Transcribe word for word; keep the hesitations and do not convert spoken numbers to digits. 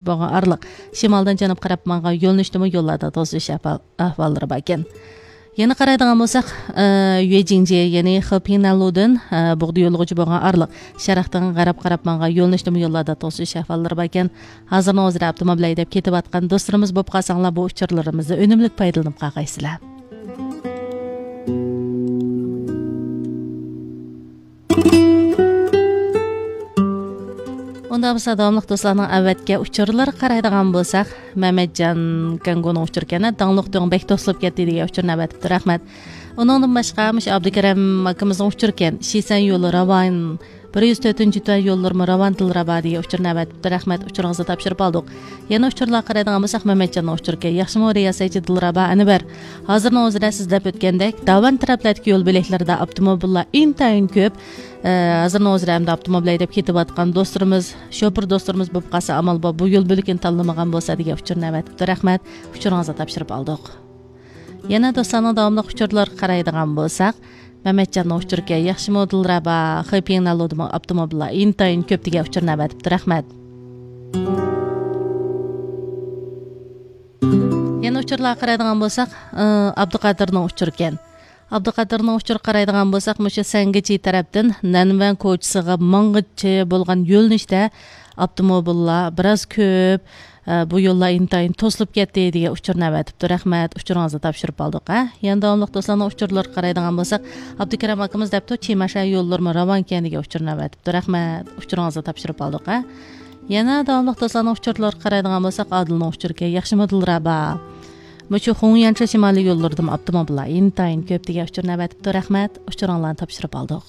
بولغان ئارىلىق شىمالدىن جەنۇبقا قاراپ ماڭغان يۆنىلىشتىمۇ يوللاردا توسۇلۇش ئەھۋال-، ئەھۋاللىرى باركەن. يەنە قارايدىغان بولساق، ئى، يۈەجىڭجيې، يەنى خېپىڭنەنلۇدىن، ئى، بۇغدا يوللىغۇچى بولغان ئارىلىق شەرقتىن غەربكە قاراپ ماڭغان يۆنىلىشتىمۇ يوللاردا توسۇلۇش ئەھۋاللىرى باركەن. ھازىرنىڭ ئۆزىدە ئاپتوموبىل ھەيدەپ كېتىۋاتقان دوستلىرىمىز بولۇپ قالساڭلار، بۇ ئۇچۇرلىرىمىزدىن ئۈنۈملۈك پايدىلىنىپ قالغايسىلەر. ئۇنداق بولسا، داۋاملىق دوستلارنىڭ ئەۋەتكەن ئۇچۇرلىرىغا قارايدىغان بولساق، مەمەتجان كەڭگۇنىڭ ئۇچۇرى ئىكەن، داڭلۇق دۆڭ بەك توسۇلۇپ كەتتى دېگەن ئۇچۇرنى ئەۋەتىپتۇ، رەھمەت. ئۇنىڭدىن باشقا، مۇشۇ ئابدۇكېرەم ئاكىمىزنىڭ ئۇچۇرى ئىكەن، شىسەن يولى راۋان، بىر يۈز تۆتىنچى تۈەن يوللىرىمۇ راۋان دىلرەبا دېگەن ئۇچۇرنى ئەۋەتىپتۇ، رەھمەت، ئۇچۇرىڭىزنى تاپشۇرۇپ ئالدۇق. يەنە ئۇچۇرلارغا قارايدىغان بولساق، مەمەتجاننىڭ ئۇچۇرى ئىكەن، ياخشىمۇ رىياسەتچى دىلرەبا ئەنۋەر؟ ھازىرنىڭ ئۆزىدە سىز دەپ ئۆتكەندەك، داۋان تەرەپلەردىكى يول بۆلەكلىرىدە ئاپتوموبىللار ئىنتايىن كۆپ. ئە، ھازىرنىڭ ئۆزىدە ئەمدى ئاپتوموبىل ھەيدەپ كېتىۋاتقان دوستلىرىمىز، شوپۇر دوستلىرىمىز بولۇپ قالسا ئامال بار، بۇ يول بۆلىكىنى تاللىمىغان بولسا دېگەن ئۇچۇرنى ئەۋەتىپتۇ، رەھمەت، ئۇچۇرىڭىزنى تاپشۇرۇپ ئالدۇق. يەنە دوستلارنىڭ داۋاملىق ئۇچۇرلىرىغا قارايدىغان بولساق، مەمەتجاننىڭ ئۇچۇرى ئىكەن، ياخشىمۇ دىلرەبا، خېپىڭنەنلۇدىمۇ ئاپتوموبىللار ئىنتايىن كۆپ دېگەن ئۇچۇرنى ئەۋەتىپتۇ، رەھمەت. يەنە ئۇچۇرلارغا قارايدىغان بولساق، ئى، ئابدۇقادىرنىڭ ئۇچۇرى ئىكەن. ئابدۇقادىرنىڭ ئۇچۇرىغا قارايدىغان بولساق، مۇشۇ سەنگىچى تەرەپتىن نەنۋەن كوچىسىغا ماڭغۇچە بولغان يۆنىلىشتە ئاپتوموبىللار بىراز كۆپ، ئە، بۇ يوللار ئىنتايىن توسۇلۇپ كەتتى دېگەن ئۇچۇرنى ئەۋەتىپتۇ. رەھمەت، ئۇچۇرىڭىزنى تاپشۇرۇپ ئالدۇق، ھە. يەنە داۋاملىق دوستلارنىڭ ئۇچۇرلىرىغا قارايدىغان بولساق، ئابدۇكېرەم ئاكىمىز دەپتۇ، چىمەنشەن يوللىرىمۇ راۋان ئىكەن دېگەن ئۇچۇرنى ئەۋەتىپتۇ. رەھمەت، ئۇچۇرىڭىزنى تاپشۇرۇپ ئالدۇق، ھە. يەنە داۋاملىق دوستلارنىڭ ئۇچۇرلىرىغا قارايدىغان بولساق، ئادىلنىڭ ئۇچۇرى ئىكەن، ياخشىمۇ دىلرەبا؟ مۇشۇ خۇڭيەنچە شىمالىي يوللىرىدىمۇ ئاپتوموبىللار ئىنتايىن كۆپ دېگەن ئۇچۇرنى ئەۋەتىپتۇ. رەھمەت، ئۇچۇرۇڭلارنى تاپشۇرۇپ ئالدۇق.